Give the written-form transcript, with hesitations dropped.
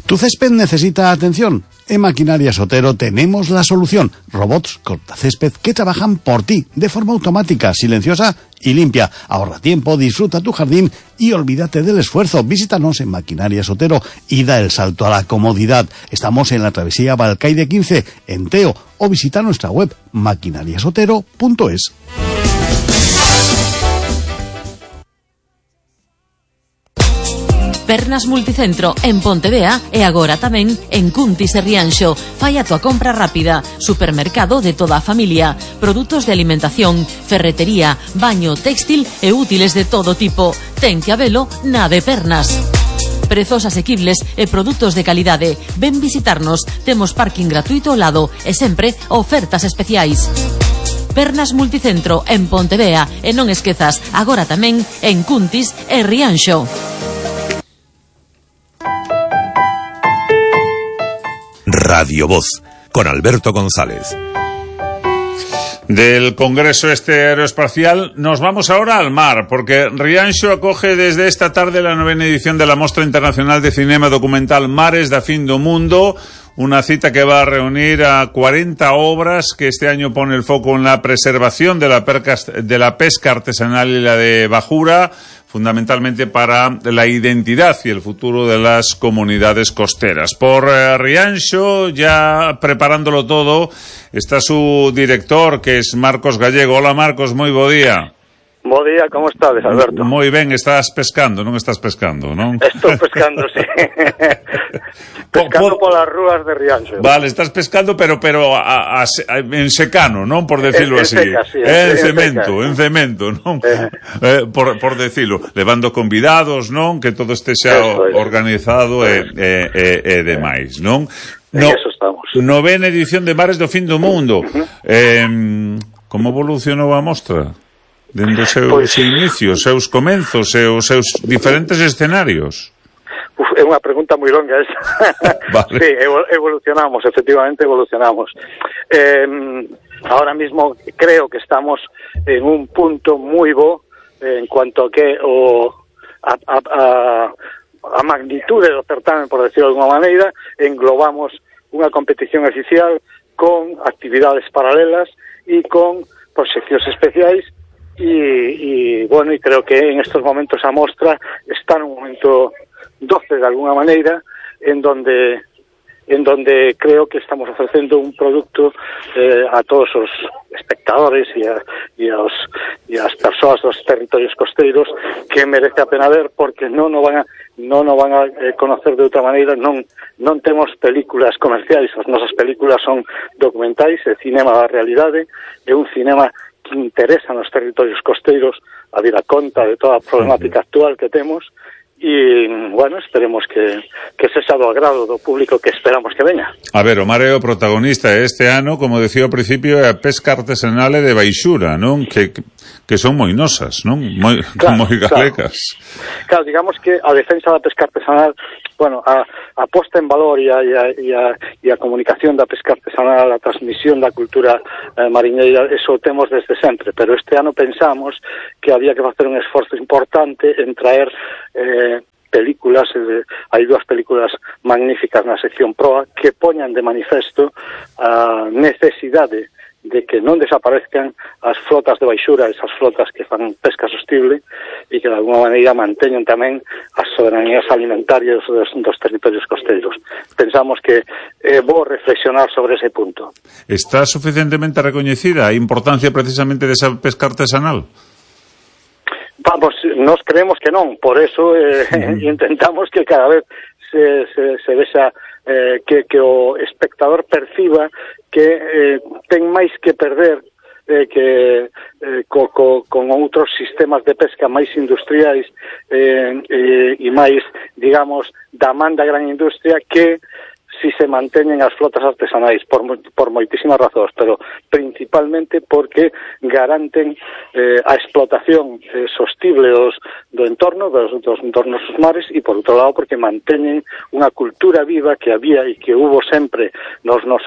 ¿Tu césped necesita atención? En Maquinarias Otero tenemos la solución. Robots cortacésped que trabajan por ti, de forma automática, silenciosa y limpia. Ahorra tiempo, disfruta tu jardín y olvídate del esfuerzo. Visítanos en Maquinarias Otero y da el salto a la comodidad. Estamos en la travesía Balcaide 15, en Teo, o visita nuestra web maquinariasotero.es. Pernas Multicentro en Pontevea e agora tamén en Cuntis e Rianxo. Fai a tua compra rápida. Supermercado de toda a familia. Produtos de alimentación, ferretería, baño, textil e útiles de todo tipo. Ten que habelo na de Pernas. Prezos asequibles e produtos de calidade. Ven visitarnos. Temos parking gratuito ao lado e sempre ofertas especiais. Pernas Multicentro en Pontevea e non esquezas, agora tamén en Cuntis e Rianxo. Radio Voz, con Alberto González. Del Congreso Aeroespacial nos vamos ahora al mar, porque Rianxo acoge desde esta tarde la 9ª edición de la Mostra Internacional de Cinema Documental Mares da Fin do Mundo, una cita que va a reunir a 40 obras que este año pone el foco en la preservación de la pesca artesanal y la de bajura, fundamentalmente para la identidad y el futuro de las comunidades costeras. Por Rianxo, ya preparándolo todo, está su director, que es Marcos Gallego. Hola, Marcos, moi bo día. Bo día, como estades, Alberto? Moi ben, estás pescando, non estás pescando, non? Estou pescando, sí. Pescando polas rúas de Rianxo. Vale, estás pescando, pero en secano, non? Por decirlo así. Seca, sí, en cemento, non? Por decirlo. Levando convidados, non? Que todo este xa organizado e demais, non? No, eso estamos. 9ª edición de Mares do Fin do Mundo. Como evolucionou a mostra? Dende os seus inicios, seus comenzos e os seus diferentes escenarios? É unha pregunta moi longa esa. Vale. Sí, evolucionamos, efectivamente evolucionamos. Ahora mismo creo que estamos en un punto moi bo en cuanto a que a magnitude do certamen, por decirlo de alguma maneira, englobamos unha competición oficial con actividades paralelas e con proxeccións especiais. Y bueno, y creo que en estos momentos a mostra está en un momento 12 de alguna manera, en donde creo que estamos ofrecendo un producto a todos os espectadores e as persoas dos territorios costeiros que merece a pena ver, porque non o van a conocer de outra maneira. Non temos películas comerciais, as nosas películas son documentais, é cinema da realidade, é un cinema que interesa nos territorios costeiros a vir a conta de toda a problemática actual que temos e, bueno, esperemos que sexa do agrado do público que esperamos que veña. A ver, o mar é o protagonista este ano, como decía ao principio, é a pesca artesanal e de baixura, non? Que son moi nosas, non? Moi galecas. Claro, digamos que a defensa da pesca artesanal, bueno, a posta en valor e a comunicación da pesca artesanal, a transmisión da cultura mariñeira, eso o temos desde sempre, pero este ano pensamos que había que facer un esforzo importante en traer películas, hai dúas películas magníficas na sección proa que poñan de manifesto a necesidade de que non desaparezcan as flotas de baixura, esas flotas que fan pesca sostible e que de alguma maneira manteñen tamén as soberanías alimentarias dos territorios costeiros. Pensamos que é bo reflexionar sobre ese punto. Está suficientemente recoñecida a importancia precisamente desa pesca artesanal? Vamos, nos creemos que non, por eso intentamos que cada vez se vexa que o espectador perciba que ten máis que perder con outros sistemas de pesca máis industriais e máis, digamos, da man da gran industria, que si se manteñen as flotas artesanais por moitísimas razóns, pero principalmente porque garanten a explotación sostible do entorno, dos entornos dos mares, e por outro lado porque manteñen unha cultura viva que había e que hubo sempre nos nosos